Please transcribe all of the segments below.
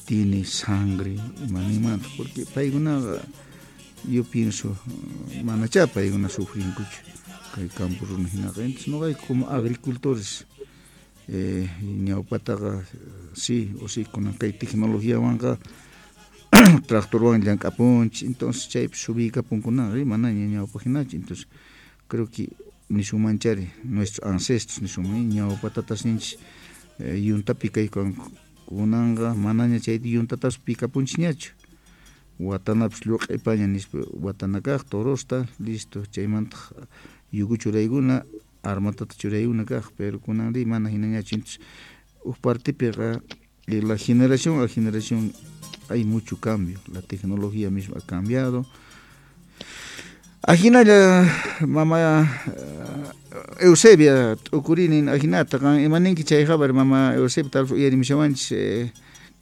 Tiene sangre imaninmanta, porque paykunaqa yo pienso manachá paykuna sufrinkuchu kay campo runa hinaqa. Entonces noqayku como agricultores ñawpataqa sí o sí kunan kay tecnologiawanqa tractorwan llank'apunchis, entonces chaypi subiykapunkunaqa manaña ñawpaq hinachu. Entonces creo que nisunmanchari nuestros ancestros nisunman ñawpa tatasninchis yuntapi kaykanku, kunanqa manaña chayta yuntatas pikapunchisñachu, watanapis lluq'ipaña nispa watana kaq torosta listo, chaymantaq yuku churaykuna armatata churaykuna kaq, pero kunanri mana hinañachu. Entonces huk partipiqa la generación a generación hay mucho cambio, la tecnología misma ha cambiado. Ajinalla mama Eusebia t'ukurinin ajinata qan imaninki chay habar mama Eusebia tal vez uyarimushawanchis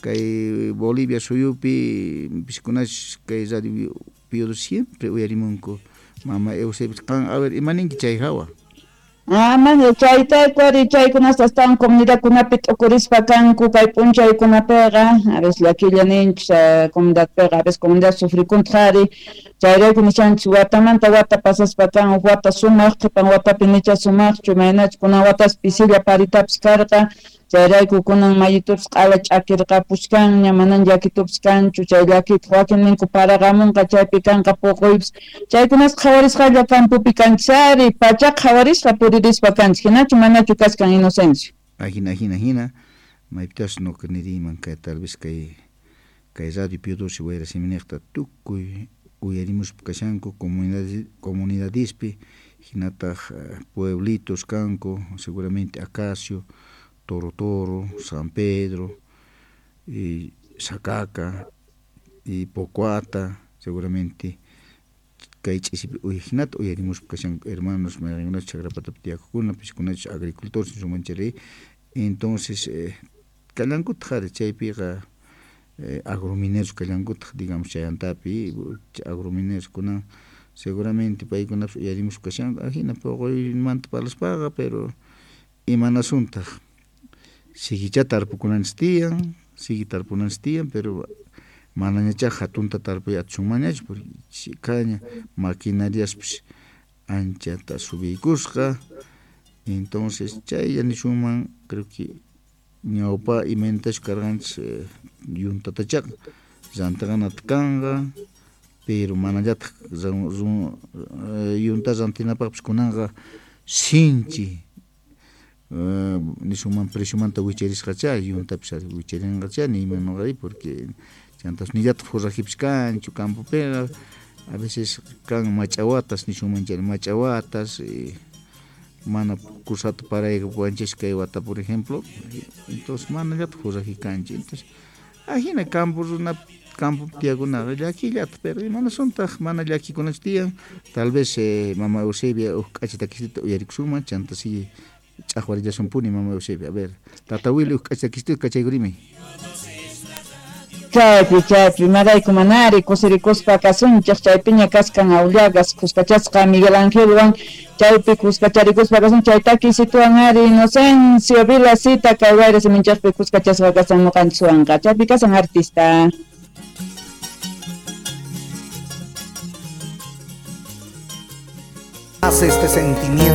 kay Bolivia suyupi piskunash kay radio Pío siempre uyarimunku mama Eusebia qan a ver imaninki chay hawa. Mana chayta ari chaykunasta astawan comunidadkunapi t'ukurispa kanku kay p'unchaykunapiqa, a veces llakilla ninchis comunidadpiqa, a veces comunidad sufrikuntaq ari, chayrayku nishanchis watamanta wata pasaspa kan huk wata sumaq, qhipan watapi nicha sumaqchu, imaynachus kunan watas pisilla paritapis karqa, chayrayku kunan mayitupis q'ala ch'akirqapuchkanña, manan llakitupis kanchu, chay llakitaq wakin ninku paraqamunqa chaypi kanqa puquypis, chaykunas qhawarisqalla campopi kanchis ari, pachaqa qhawarisqa puririspa kanchis, hinachu manachu kachkan Inocencio. Ajina, ajina, ajina, maypitas nuqa niriyman kay tal vez kay radio Pío Doce wayra siminiqta tukuy uyarimuspa kashanku comunidadispi, hinataq pueblitos kanku, seguramente Acacio, Toro Toro, San Pedro, y Sacaca, y Pocoata, seguramente kay ch'isipi hinata uyarimuspa kashanku hermanos mayqinkunachus chakrapatapi tiyakukuna, piskunachus agricultores nisunmanchari. Entonces kallankutaq ari chaypiqa agromineros kallankutaq, digamos chayantapi agromineros kunan seguramente paykunapis uyarimuspa kashanku ajina puquymanta parlaspaqa, pero imanasuntaq sigichá tarpukunanchis tiyan, sigue tarpunanchis tiyan, pero manañachá hatunta tarpuy atisunmanñachu porque chhikaña maquinariaspis anchata subiykusqa. Entonces chaylla nisunman creo que ñawpa imaynatachus karqanchis yuntatachaqa rantiqanata kanqa, pero manallataq yunta rantinapaqpis kunanqa sinchi nisunman preciomanta wicharisqachá, yuntapis wicharinqachá niyman noqari, porque chantas nillataq forrajipis kanchu campopiqa, a veces kan mach'awatas nisunman chay mach'awatas mana kusata paraykapuwanchis kay wata por ejemplo, entonces manallataq forraji kanchu. Entonces ajina campo runa campo tiyakunaqa llakillata, pero imanasuntaq mana llakikunachu tiyan, tal vez mama Eusebia huk k'acha takisita uyarikusunman, chanta sigue ch'aqwarillasunpuni mama Eusebia. A ver, tata Willy huk k'acha takisita kachaykurimi. Chaypi, chaypi, imarayku manari kusirikuspa kasunchik, chaypiña kaskan Aullagas kuskachasqa Miguel Angelwan, chaypi kuskacharikuspa kasun, chay takisituwan ari Inocencio Vilasita kay wayra siminchikpi kuskachasqa kasan ñuqanchikwanqa, chaypi kasan artista. Hace este sentimiento.